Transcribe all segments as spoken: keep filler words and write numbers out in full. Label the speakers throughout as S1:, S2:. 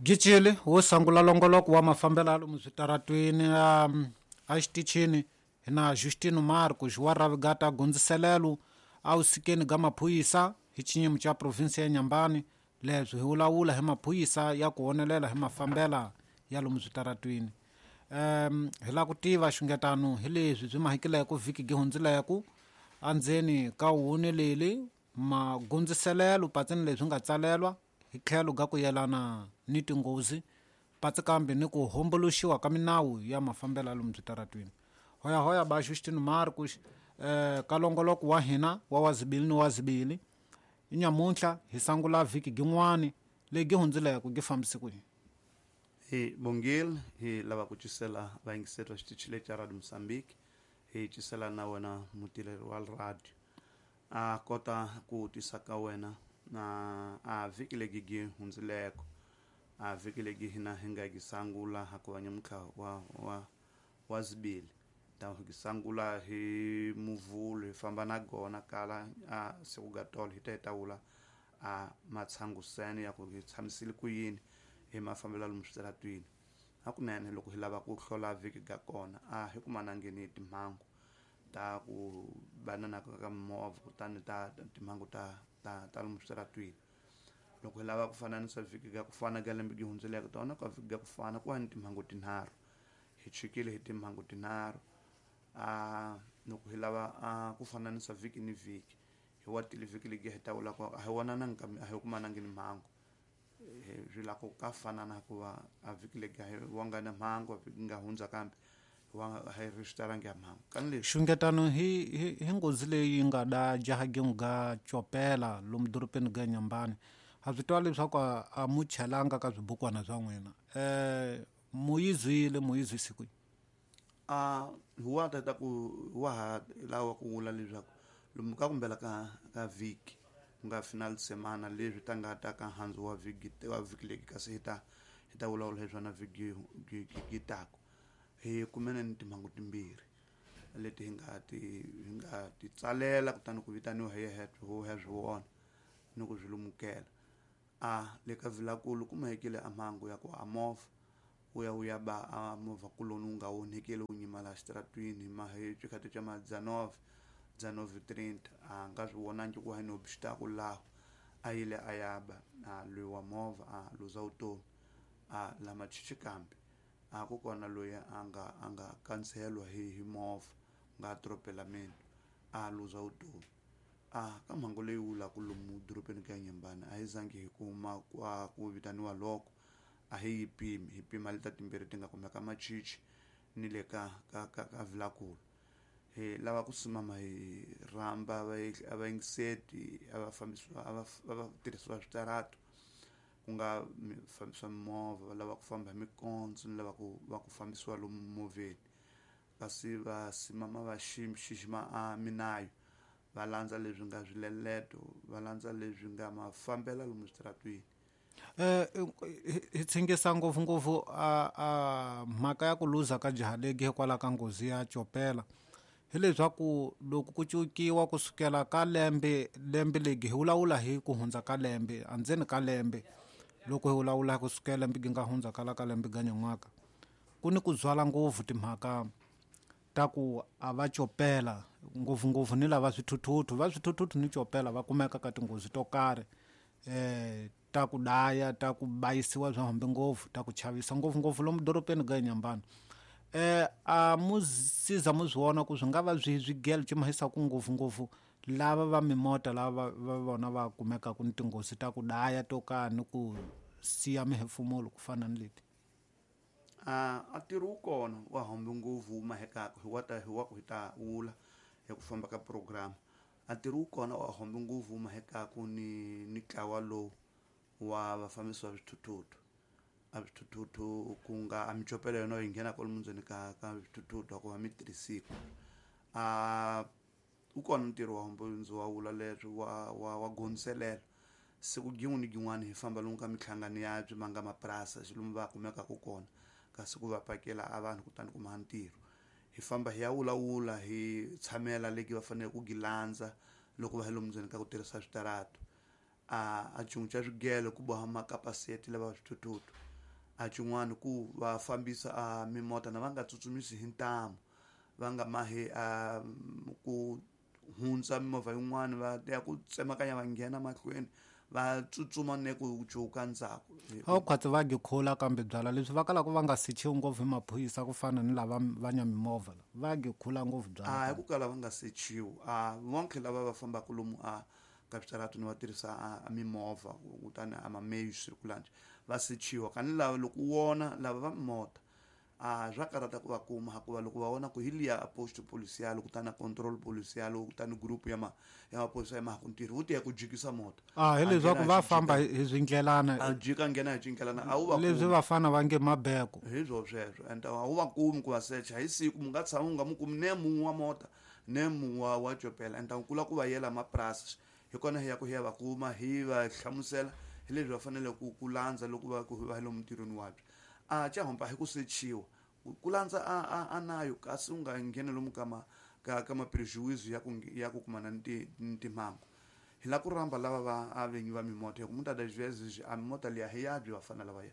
S1: Gicile wo sangula longoloko wa mafambelo lomu switaratwini um, a xitichini na Justino Marcos wa Ravigata gondziselelo a wusikeni ga maphuyisa hi xinyimo xa provinsi ya Nyambani. Leswi hi vulavula hi maphuyisa ya ku honelela hi mafambela ya lomu switaratwini. Um hi lava ku tiva xungetano hi leswi byi mahikileko vhiki gi hundzileko andzeni ka wuneleli magondziselelo patsini leswi nga tsalelwa hi tlhelo ga ku yelana ni tinghozi patsi kambe ni ku homboloxiwa ka minawu ya mafambelo ya lomu switaratwini. Hoya hoya ba Justino Marcos eh, ka longoloko wa hina wa wazibili ni wazibili inyamuntlha hi sangula vhiki gin'wani leyi hundzileko gi fambise ku yini?
S2: Hi bongile hi lava ku cisela vayingiseri va xitichi lexi xa Radio Mozambique, hi cisela na wena mutirheli wa radio a kota ku tisa ka wena na a vhiki legi gi hundzileko a vhiki legi hina hi nga gi sangula hakuva nyamuntlha wa wa wa zibili ta hi sangula hi muvhulu hi famba na gona kala a siku ga tolo hi ta hi ta wula a matshangusene ya ku hi tshamisile ku yini hi mafambelo lomu switaratwini. Hakunene loko hi lava ku hlola vhiki ga kona a hi kumanangeni timhangu ta ku banana ka mimovha kutani ta timhangu ta ta ta lomu switaratwini. Loko hi lava ku fananisa vhiki ga ku fana ga lembe gi hundzileke tona ka vhiki ga ku fana ku va ni timhangu tinharhu hi chikile hi timhangu tinharhu. A loko hi lava a ku fananisa vhiki ni vhiki hi wa tile vhiki legi hi ta vula ku a hi vonananga kambe a hi kumanangi ni mhangu swi la ku ka fanana hikuva a vhiki legi a hi wanga na mhangu a vhiki nga hundza kambe wa hi ri switalangi ya mhangu kani leswi
S1: xungetano hi hi hi nghozi leyi nga da jaha gin'we ga copela lomu dorobeni ga Nyambani. Ha swi twa leswaku a, a mu chelanga ka swibukwana swa n'wina um mu yi zwile mu yi zwisi kwihi?
S2: A hi wa ta ku wa ha lava ku vula leswaku lomu ka kumbela ka ka vhiki ku nga final semana leswi ta nga ta ka handzu wa vhiki wa vhiki legi kasi hi ta hi ta vulavula hi swona vhiki gi taku hi kumene ni timhangu timbirhi leti hi nga ti hi nga ti tsalela kutani ku vitaniwa hi yehe ho ya swi vona ni ku swi lumukela. A le ka Vilakulu ku mahekile a mhangu ya ku a movha wu ya wu ya ba a movha kuloni wu nga onhekeli wu nyimala xitaratwini ma hi xikhathi xa madzanove dzanove trenta a nga swi vonangi ku hi ni obstacle laho a yile a ya ba a loyi wa movha a luza vutomi a lama chichi kambe a ku kona loyi a nga a nga kandzihelwa hi hi movha nga atropelameni a luza vutomi. A ka mhangu leyi wulaku lomu dorobeni ka Nyambani a hi zangi hi kuma ku ku vitaniwa loko a hi yi pimi hi pima leta timbirhi ti nga kumeka machichi ni le ka ka ka ka Vilakulu. Hi lava ku simama hi rhamba a vayingiseti a va fambisiwa a va va tirhisiwa switaratu ku nga fambisiwa mimovha va lava ku famba hi mikondzo ni lava ku va ku fambisiwa lomu movheni kasi va simama va xixima a minayo va landza leswi nga swileleto va landza leswi nga mafambelo lomu switaratwini.
S1: Eh hi tshingisa ngopfungopfu a a mhaka ya ku luza ka jaha legi hikwalaho ka nghozi ya copela hileswaku loko ku cukiwa kusukela ka lembe lembe legi hi vulavula hi ku hundza ka lembe andzeni ka lembe loko hi vulavula kusukela lembe gi nga hundza kala ka lembe ga nyan'waka ku ni ku byala ngopfu timhaka ta ku a va copela ngopfungopfu ni lava swithuthuthu va swithuthuthu ni copela va kumeka ka tinghozi to karhi eh ta ku daya ta ku bayisiwa swa hambi ngopfu ta ku chavisa ngopfungopfu lomu dorobeni ga Nyambani. Eh a mu siza mu swi vona ku swi nga va swi swigelo swi mahisaku ngopfungopfu lava va mimota lava va vona va kumekaku ni tinghozi ta ku daya to karhi ni ku siya mihefumulo ku fana ni leti?
S2: A a ntirho wu kona wa hambi ngopfu wu mahekaka hi wa ta hi wa ku hi ta wula hi ku famba ka program. A ntirho wu kona wa hambi ngopfu wu mahekaku ni ni ntlawa lowu wa vafambisi va swithuthuthu. A swithuthuthu ku nga a micopelo yona yi nghena kwalomu ndzeni ka ka swithuthuthu a ku va mi tirhisiku. A wu kona ntirho wa hambi ndzi wa wula leswi wa wa wa gondziselela siku gin'we ni gin'wani hi famba lomu ka minhlangano ya byi ma nga mapurasi lomu va kumekaka kona kasi ku va pakela a vanhu kutani kuma ntirho. Hi famba hi ya wulawula hi tshamela legi va fanele ku gi landza loko va hi lomu ndzeni ka ku tirhisa switaratu. A a cin'we xa swigelo ku boha makapaseti lava swithuthuthu A xin'wana ku va fambisa a mimota na va nga tsutsumisi hi ntamu, va nga mahi a ku hundza mimovha yin'wana va ya ku tsemakanya va nghena mahlweni va tsutsuma ne ku cuka ndzhaku.
S1: A wu khwatsi va gikhula kambe byala leswi va kalaka va nga sechiwi ngopfu hi maphorisa ku fana ni lava va nya mimovha va gikhula ngopfu byala.
S2: A hi ku kala va nga sechiwi a vonke lava va fambaka lomu a ka switarateni va tirhisa a mimovha kutani a ma-meios circulante va sechiwa kani lava loko u vona lava va mimota a swa karhata ku va kuma hikuva loko va vona ku hi liya a post policial kutani a control policial kutani group ya ma ya maphorisa ya mahaku ntirho wu tiya ku jikisa mota.
S1: A hi leswaku va famba hi swindlelana
S2: a jika nghena hi xindlelana a wu va
S1: leswi vafana va nge mabeko
S2: hi swo sweswo and a wu va kumi ku va secha hi siku mu nga tshama u nga mu kumi ne mun'we wa mota ne mun'we wa wa chopela and ku la ku va yela mapurasi hi kona hi ya ku hi ya va kuma hi va hlamusela hi leswi va fanele ku ku landza loko va ku va lomu ntirhweni wabyo. A xa hompa hi ku sechiwa ku landza a a a nayo kasi u nga ngheni lomu ka ma ka ka ma prejuízo ya ku ya ku kumana ni timhangu. Hi la ku rhamba lava va a vinyi va mimota hi ku muitas das vezes a mimota liya hi ya byi vafana lavaya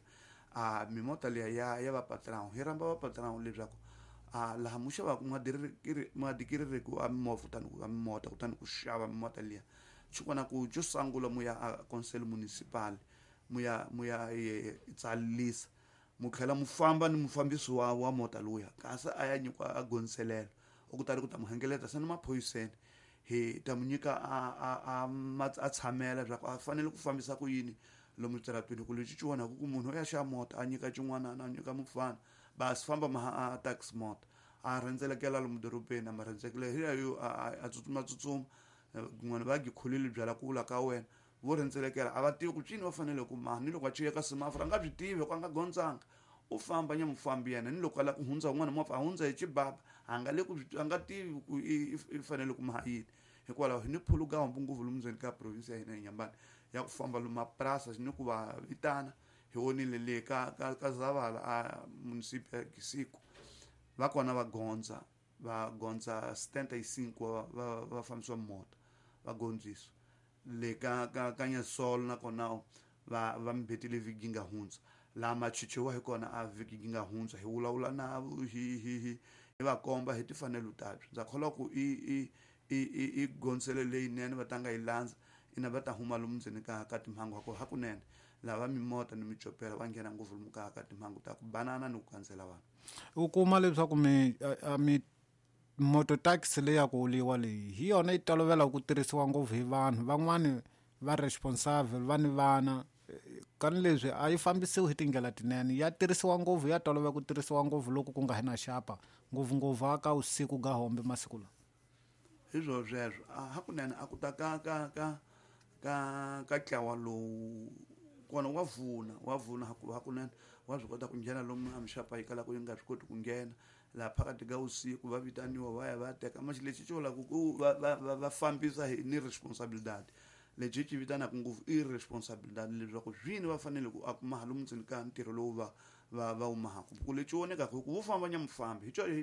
S2: a mimota liya ya ya va patrão hi rhamba va patrão leswaku a laha mu xavaka mu adquirireke a mimovha kutani a mimota kutani ku xava mimota liya xikona ku xo sungula mu ya a conselho municipal mu ya mu ya tsalisa mu tlhela mu famba ni mufambisi wa wa mota luya kasi a ya nyikiwa a gondzelelo u kutani ku ta mu hengeleta se ni maphoyiseni hi ta mu nyika a a a a tshamela leswaku a fanele ku fambisa ku yini lomu switarateni ku lexi xi onhaku ku munhu u ya xava mota a nyika xin'wana a nyika mufana basi famba ma a taxi mota a rhendzelekela lomu dorobeni a ma rhendzekela hi yo a tsutsuma tsutsuma kun'wana va gikhulile byala ku vula ka wena vo rhendzelekela a va tivi ku cini va fanele ku maha ni loko a chika ka semaforo a nga byi tivi ku a nga gondzanga u famba nya mufambi yena ni loko a lava ku hundza un'wana movha a hundza hi xibaba a nga le ku a nga tivi ku i fanele ku maha yini. Hikwalaho hi ni phuluka hambi ngopfu lomu ndzeni ka province ya hina ya Inhambane ya ku famba lomu mapurasi ni ku va vitana hi vonile le ka ka ka Zavala a municipio ya Gisiku va kona va gondza va gondza setenta e cinco va va fambisiwa mota va gondzisa le ka ka ka Nyasolo nakona va va mbetile vhiki yi nga hundza laha machichiwa hi kona a vhiki yi nga hundza hi vulavula na hi hi hi hi va komba hi timfanelo ta byo ndza kholwa ku i i i i gondzelo leyinene va ta nga yi landza ina va ta huma lomu ndzeni ka ka timhangu ha hakunene lava mimota ni michopela va nghena ngopfu lomu ka ka timhangu ta ku banana ni ku kandzela vanhu.
S1: U kuma leswaku mi mi moto taxi leyi ya ku uliwa leyi hi yona yi tolovela ku tirhisiwa ngopfu hi vanhu van'wani va responsible va ni vana kani leswi a yi fambisiwi hi tindlela tinene ya tirhisiwa ngopfu ya tolovela ku tirhisiwa ngopfu loko ku nga hi na xapa ngopfungopfu aka usiku ga hombe masiku lawa.
S2: Hi swo sweswo hakunene a ku ta ka ka ka ka ka ntlawa lowu kona wa vuna wa vuna hakunene wa swi kota ku nghena lomu a mixapa yi kalaka yi nga swi koti ku nghena laha phakathi ka vusiku va vitaniwa va ya va teka maxi lexi xi vulaka ku va va va va fambisa hi ni responsabilidade lexi xi vitanaka ngopfu i responsabilidade leswaku swini va fanele ku a kuma lomu ndzeni ka ntirho lowu va va va wu mahaka ku lexi vonekaka hi ku vo famba nya mufambi hi xona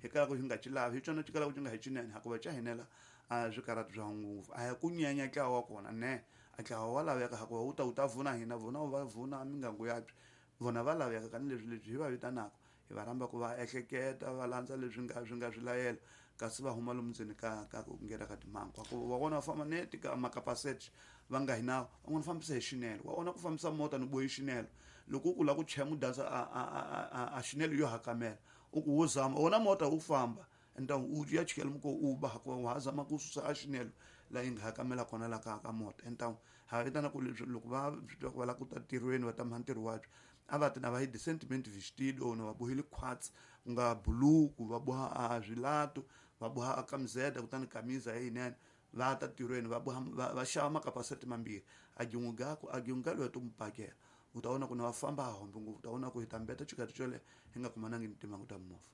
S2: hi kalaka xi nga xi lavi hi xona xi kalaka xi nga hi xinene hikuva xa hinela a swikarhati swa ngopfu a hi ku nyanya ntlawa wa kona ne a ntlawa wa laveka hikuva wu ta wu ta vuna hina vona wu va vuna mingangu yabyo vona va laveka kani leswi leswi hi va vitanaka hi va rhamba ku va ehleketa va landza leswi nga swi nga swilayelo kasi va huma lomu ndzeni ka ka ku nghena ka timhangu ku va vona va famba neti ka makapasete va nga hi nawu van'wana fambisa hi xinelo wa vona ku fambisa mota ni bohi xinelo loko u ku lava ku chaya mudansa a a a a xinelo yo hakamela u ku wo zama wona mota wu famba então u ya chikela muko u ba hikuva wa ha zama ku susa a xinelo laha yi nga hakamela kona la ka ka mota então ha vitana ku leswi loko va swi twa ku va lava ku ta ntirhweni va ta maha ntirho wabyo a va ti na va hi decentemente vestido na va bohile khwatsi ku nga buluku va boha a swilato va boha a kamizeta kutani kamiza yinene va ta ntirhweni va boha va xava makapasete mambirhi a gin'we gaku a gin'we ka loyi to mu pakela u ta vona ku na va famba hombe ngopfu u ta vona ku hi ta mbeta xikati xo leha hi nga kumanangi ni timhangu ta mimovha.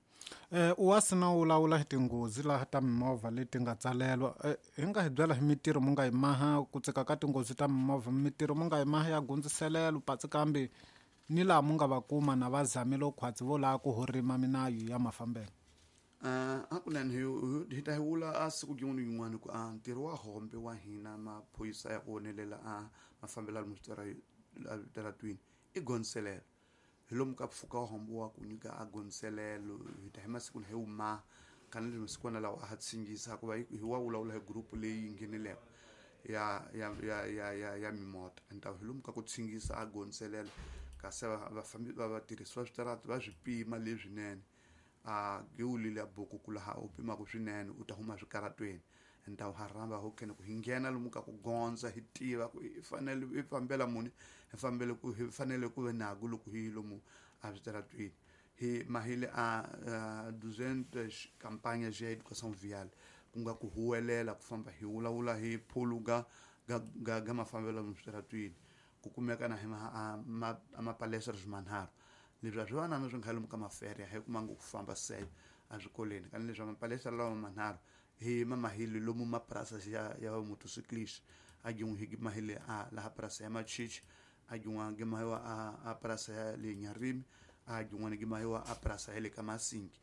S1: Eh u wa sina u lawula hi tinghozi laha ta mimovha leti nga tsalelwa hi nga hi byela hi mitirho mu nga yi maha ku tseka ka tinghozi ta mimovha mitirho mu nga yi maha ya gundziselelo patsi kambe ni laha mu nga va kuma na va zamile khwatsi vo lava ku horima minayu ya mafambelo.
S2: Uh, hakunene hi hi ta hi vula a siku rin'wana na rin'wana ku a ntirho wa hombe wa hina maphorisa ya ku vonelela a mafambelo lomu switaratwini i gondzelelo Hi lomu ka mpfhuka wo hambiwa ku nyika a gondzelelo hi ta hi masiku hi wu maha kana leswi masikwana lawa a ha tshingisa hikuva hi wa vulavula hi group leyi ngheneleke ya ya ya ya ya ya mimota enta hi lomu ka ku tshingisa a gondzelelo kasi vafambi va vatirhisi va switarata va swi pima leswinene a gewulile ya buku ku laha u pimaka swinene u ta huma swikaratweni enta ha rhamba ho kene ku hi nghena lomu ka ku gondza hi tiva ku hi fanele hi fambela muni hi fambele ku hi fanele ku ve naku loko hi lomu a switaratweni hi mahile a duzentos campanhas de educação vial ku nga ku huwelela ku famba hi vulavula hi phuluga ga ga ga mafambelo lomu switaratweni ku kumeka na hi ma ma palestras manharhu leswi a swi va na swi nga lomu ka maferia hi kuma ngo ku famba se a swikolweni kana leswi mapalestra lawa manharhu hi mamahile lomu mapurasa ya ya motociclist a jin'we hi mahile a laha purasa ya Machichi a jin'wana gi mahiwa a a purasa ya le Nyarimi a jin'wana gi mahiwa a purasa ya le ka Masingi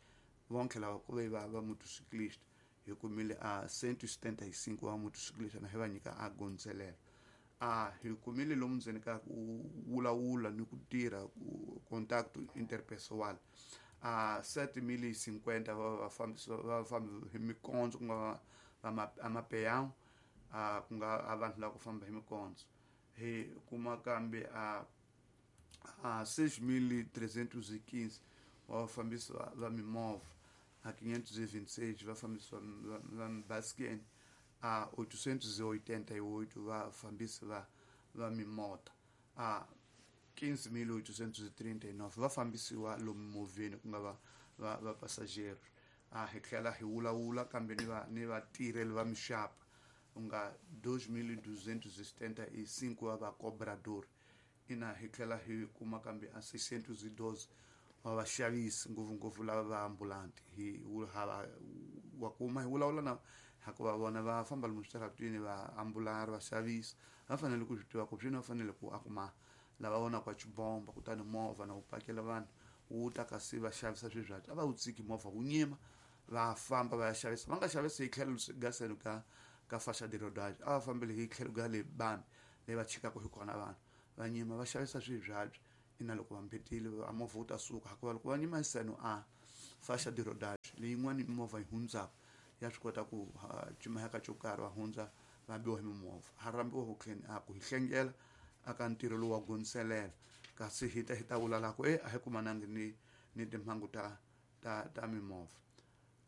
S2: vonke lava ku ve va va motociclist hi kumile a cento e setenta e cinco wa motociclist na hi va nyika a gondzelelo a hi kumile lomu ndzeni ka ku vulavula ni ku tirha ku contact interpessoal a sete mil e cinquenta va vafambisi va vafambi hi mikondzo ku nga va amapeão a ku nga a vanhu lava ku famba hi mikondzo hi kuma kambe a a seis mil trezentos e quinze wa vafambisi va mimovha a quinhentos e vinte e seis vafambisi va va mibasikeni a oitocentos e oitenta e oito vafambisi va va mimota a quinze mil oitocentos e trinta e nove va fambisiwa lomu movheni ku nga va va va passageiro a hi tlhela hi vulavula kambe ni va ni vatirheli va mixapa ku nga dois mil duzentos e setenta e cinco wa va cobrador ina hi tlhela hi kuma kambe a seiscentos e doze wa vaxavisi ngopfungopfu lava va ambulanti hi hava wa kuma hi vulavula na hikuva vona va famba lomu switaratwini va ambulari vaxavisi va fanele ku swi tiva ku swini va fanele ku a kuma lava vonaka chibomba kutani movha na wu pakela vanhu wu ta kasi va xavisa swilo a va wu tsiki movha wu nyima va famba va ya xavisa va nga xavisi hi tlhelo gaselo ka ka faixa de rodagem a va fambele hi tlhelo ga le bambi leyi va chikaka hi kona vanhu va nyima va xavisa swibyabya ina loko va mbetile a movha wu ta suka hikuva loko va nyima hi seno a faixa de rodagem leyin'wani movha yi hundzaka ya swi kota ku cimaheka xo karhi va hundza va biwa hi mimovha ha rhambiwa ku tlheni a ku hi hlengela aka ntirho lowu wa gondzelela kasi hi ta hi ta vula la ku e a hi kumanangi ni ni timhangu ta ta ta mimovha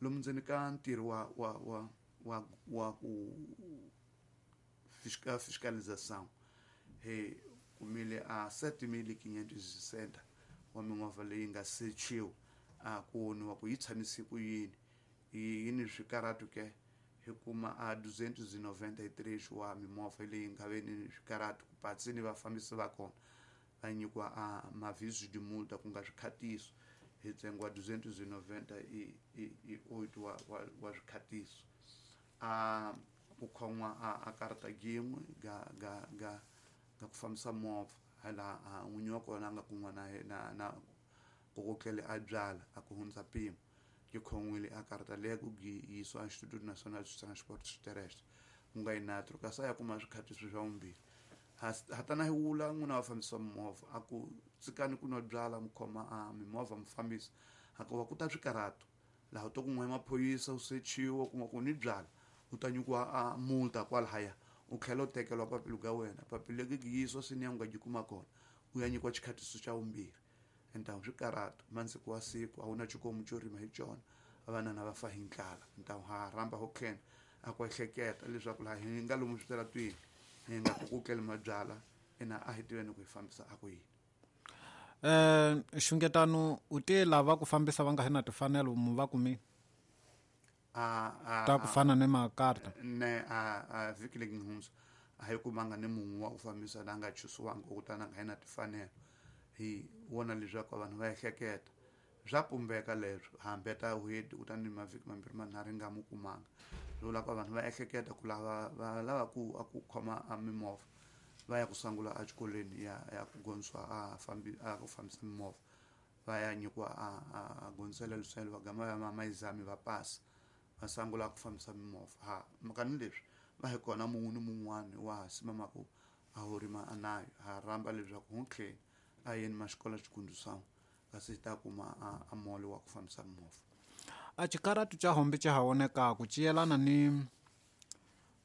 S2: lomu ndzeni ka ntirho wa wa wa wa wa ku fiscal fiscalização hi kumile a sete mil e quinhentos e sessenta wa mimovha leyi nga sechiwa a ku voniwa ku yi tshamise ku yini yi ni swikaratu ke hi kuma a duzentos e noventa e três wa mimovha leyi nga ve ni swikaratu ku patsi ni vafambisi va kona va nyikiwa a maviso de multa ku nga swikhatiso hi ntsengo wa duzentos e noventa e oito wa wa wa swikhatiso a ku khon'wa a a karata gin'we ga ga ga ga ku fambisa movha hala n'winyi wa kona a nga kun'wa na na na ku kotlele a byala a ku hundza mpimo yi khon'wile a karata leya ku yisiwa Instituto Nacional de Transportes Terrestres ku nga INATRO kasi a ya kuma swikhatiso swa vumbirhi hatana hi wula n'wina va fambisa mimovha a ku tsikani ku nwa byala mi khoma a mimovha mi fambisa hikuva ku ta swikaratu laha u to kun'we maphorisa u sechiwa kuma ku ni byala u ta nyikiwa a multa kwalahaya u tlhela u tekeriwa papila ga wena papila leri yisiwa sini ya u nga yi kuma kona u ya nyikiwa xikhatiso xa vumbirhi ntawu swikaratu mansiku wa siku a wu na xikomu xo rima hi xona vanana va fa hi ndlala ntawu ha rhamba ho tlhela a ku ehleketa leswaku laha hi nga lomu switaratwini hi nga ku kutleli mabyala ina a hi tiveni ku hi fambisa a ku yini
S1: eh xungetano u te lava ku fambisa va nga na timfanelo mu va kumi
S2: a a
S1: ta ku fana ni makarta
S2: ne a a vhiki leyi nga hundza a hi kumanga ni munhu wa ku fambisa la nga chusiwanga kutani a nga na timfanelo hi vona leswaku vanhu va ehleketa swa pumbeka leswo hambeta hweti kutani mavhiki mambirhi manharhu hi nga mu kumanga swi vula ku vanhu va ehleketa ku lava va lava ku a ku khoma a mimovha va ya ku sungula exikolweni ya ya ku gondzisiwa a fambi a ku fambisa mimovha va ya nyikiwa a a gondzisela luselo va gama va maizami va pasa va sungula ku fambisa mimovha ha mhaka ni leswi va hi kona mun'we ni mun'wani wa ha simamaku a wu rima a nayo ha rhamba leswaku hu tlheni a yeni maxikola xikundu kasi ta kuma a, a mole wa ku fambisa movha.
S1: A xikaratu xa hombe xa ha vonekaku xi yelana ni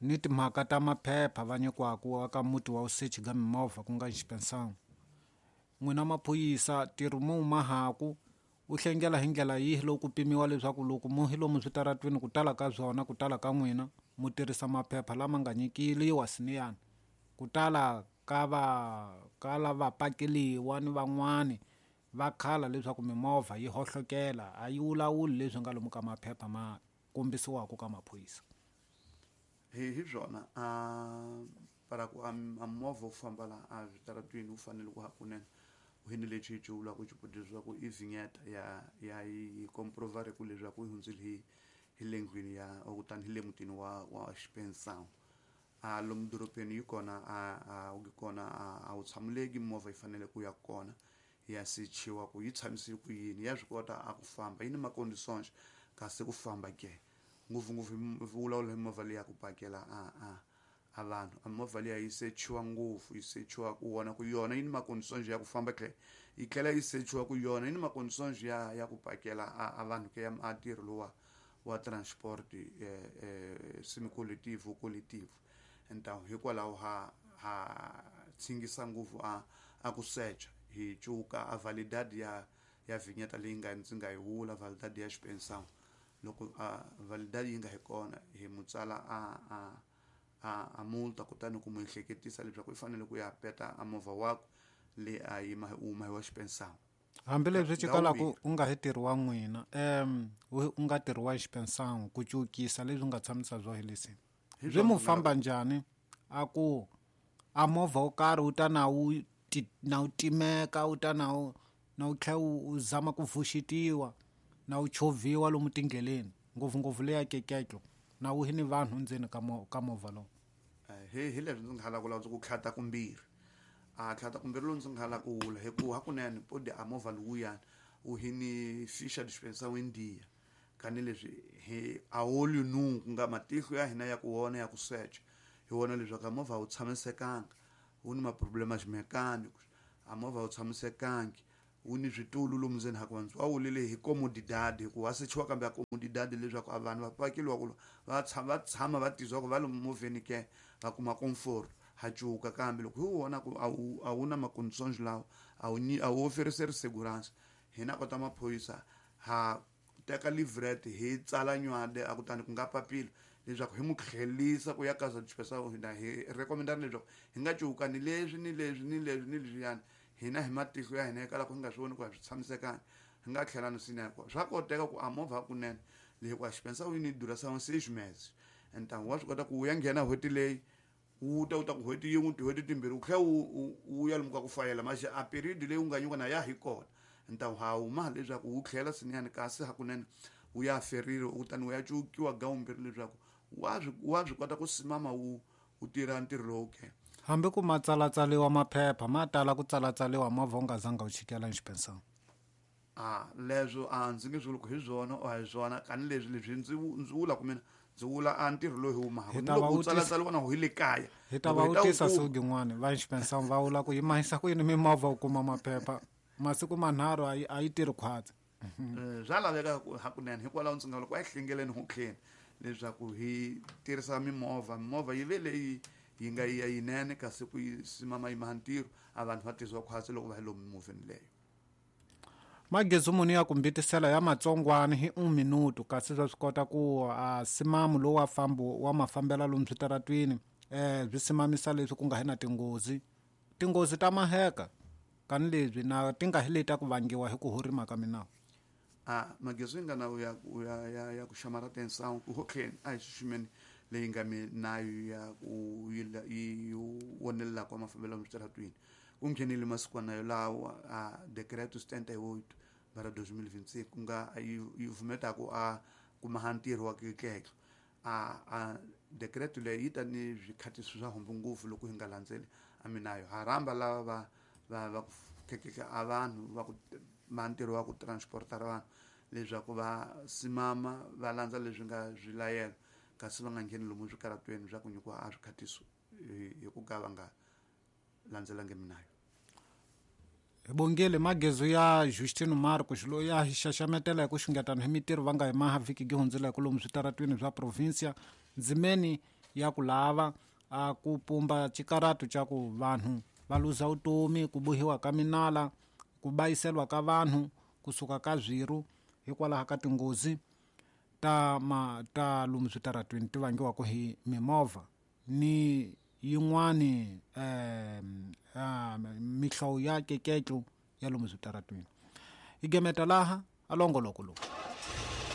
S1: ni timhaka ta maphepha va nyikiwaku aka muti wa usechi ga mimovha ku nga inspeção. N'wina maphorisa ntirho mo wu mahaku u hlengela hi ndlela yihi loko ku pimiwa leswaku loko mo hi lomu switaratwini ku tala ka swona ku tala ka n'wina mu tirhisa maphepha lama nga nyikiliwa siniyani ku tala ka va ka lava pakeliwa ni van'wani va khala leswaku mimovha yi hohlokela a yi wulawuli leswi nga lomu ka maphepha ma kombisiwaka ka maphorisa.
S2: Hi hi swona a para ku a movha wu famba la a switaratwini wu fanele ku hakunene u hini lexi hi vulaka xiputiso swa ku i vignette ya ya yi komprovari ku leswaku yi hundzile hi hi le ndlwini ya kutani hi le mutini wa wa Xipensão. A lomu dorobeni yi kona a a wu kona a wu tshamuleki movha yi fanele ku ya kona ya sechiwa ku yi tshamise ku yini ya swi kota a ku famba yi ni maconditions kasi ku famba ke ngopfungopfu vulavula hi movha leyi ya ku pakela a a a vanhu a movha liya yi sechiwa ngopfu yi sechiwa ku vona ku yona yi ni maconditions ya ku famba tlhela yi tlhela yi sechiwa ku yona yi ni maconditions ya ya ku pakela a, a vanhu ke ya a ntirho lowa wa transport eh, eh, semi-collective collective. Então hikwalaho ha ha tshingisa ngopfu a a ku secha hi cuka a validade ya ya vignette leyi nga ndzi nga yi vula validade ya Xipensão. Loko a validade yi nga hi kona hi mutsala a a a a multa kutani ku mu ehleketisa leswaku i fanele ku ya peta a movha wakwe le a yima u huma hi wa Xipensão.
S1: Hambileswi xi kalaka u nga hi ntirho wa n'wina um u nga ntirho wa Xipensão ku cukisa leswi nga tshamisa byo hi leswi swi mu famba njhani a ku a movha wo karhi wu ta na wu na wu timeka wu ta na wu na wu tlhela wu zama ku pfuxetiwa na wu chovhiwa lomu tindleleni ngopfungopfu leya keketlo na wu hi ni vanhu ndzeni ka mo ka movha lowu.
S2: Hi hi leswi ndzi nga hala ku lava ku tlhata kumbirhi a tlhata kumbirhi lowu ndzi nga hala ku wula hikuva hakunene podi a movha lowuyani wu hi ni ficha dispensa wendiya kani leswi hi a olho nu ku nga matihlo ya hina ya ku vona ya ku secha hi vona leswaku a movha a wu tshamisekanga wu ni maproblema mechanics a movha a wu tshamisekangi wu ni switulu lomu ndzeni ha ku vanhu va wulile hi comodidade hikuva wa sechiwa kambe a comodidade leswaku a vanhu va pakeliwa ku va tshama va tshama va tizwa ku va lomu movheni ke va kuma comfort ha cuka kambe loko hi wu vona ku a wu a wu na maconditions lawa a wu a wu oferiseri segurança hina kota maphorisa ha teka livret hi tsala nywade a kutani ku nga papila leswaku hi mu tlhelisa ku ya ka dispensa hina hi recommendana leswaku hi nga cuka ni leswi ni leswi ni leswi ni leswiyani hina hi matihlo ya hina hikwalaho ku hi nga swi voni ku a swi tshamisekanga hi nga tlhela ni swinene swa koteka ku a movha hakunene leyi ku a Xipensão yi ni duração seis meses então wa swi kota ku wu ya nghena n'hweti leyi wu ta wu ta ku n'hweti yin'we tin'hweti timbirhi wu tlhela wu wu ya lomu ka ku fayela maxi a period leyi wu nga nyikiwa na ya hi kona então ha huma leswaku wu tlhela swinene kasi hakunene wu ya ferile kutani wu ya cukiwa gawumbirhi leswaku wa swi wa swi kota ku simama wu wu tirha ntirho lowu ke.
S1: Hambi ku ma tsalatsaliwa maphepha ma tala ku tsalatsaliwa movha wu nga zanga wu chikela Xipensão.
S2: A leswo a ndzi nge swi vuli ku hi swona or a hi swona kani leswi leswi ndzi ndzi vula ku mina ndzi vula a ntirho lowu hi wu mahaka
S1: Hi ta va
S2: loko wu
S1: vutisa
S2: tsalatsaliwa na hi le kaya
S1: hi ta va
S2: loko hi ta wu
S1: vutisa
S2: kuma
S1: siku rin'wana va Xipensão va vula ku yi mahisa ku yini mimovha u kuma maphepha masiku manharhu a yi a yi tirhi khwatsi.
S2: Swa laveka ku hakunene hikwalaho ndzi nga loko a hi hlengeleni hotleni leswaku hi tirhisa mimovha mimovha yi ve leyi yi nga ya yinene kasi ku yi simama yi maha ntirho a vanhu va tizwa khwatsi loko va hi lomu mimovheni leyo.
S1: Magezi muni ya ku mbitisela ya matsongwani hi un minuto kasi swa swi kota ku a simamu lowu wa fambo wa mafambela lomu switaratwini eh swi simamisa leswi ku nga hi na tinghozi tinghozi ta maheka kani leswi na ti nga hi leti ku vangiwa hi ku horima ka minawu.
S2: A magezi yi nga na ya ya ya ya ku xamara atenção ku hotleni a hi xiximeni leyi nga minayo ya ku yi wonelela kwa mafambelo ya switaratwini ku nghenile masikwana yo lawa a decreto setenta e oito bara dois mil e vinte e cinco ku nga yi yi vumetaku a kuma ntirho wa kekeke a a decreto leyi yi ta ni swikhatiso swa hombo ngopfu loko hi nga landzeli a minayo ha rhamba lava va va va ku khekeka a vanhu va ku ma ntirho wa ku transporta vanhu leswaku va simama va landza leswi nga swilayelo kasi va nga ngheni lomu swikaratweni swa ku nyikiwa a swikhatiso hi ku ka va nga landzelangi minayo.
S1: Hi bongile magezo ya Justino Marcos loyi a hi xaxametela hi ku xungetana hi mitirho va nga hi maha vhiki gi hundzela hi lomu switaratwini swa provincia ndzimeni ya ku lava a ku pumba xikaratu xa ku vanhu va luza vutomi, ku bohiwa ka minala, ku bayiselwa ka vanhu, kusuka ka zwiru hikwalaho ka tinghozi ta ma ta lomu switaratwini ti vangiwaka hi mimovha ni yin'wani eh, mihlovo ya keketlo ya lomu switaratwini. Hi gemeta laha a longoloko lowu.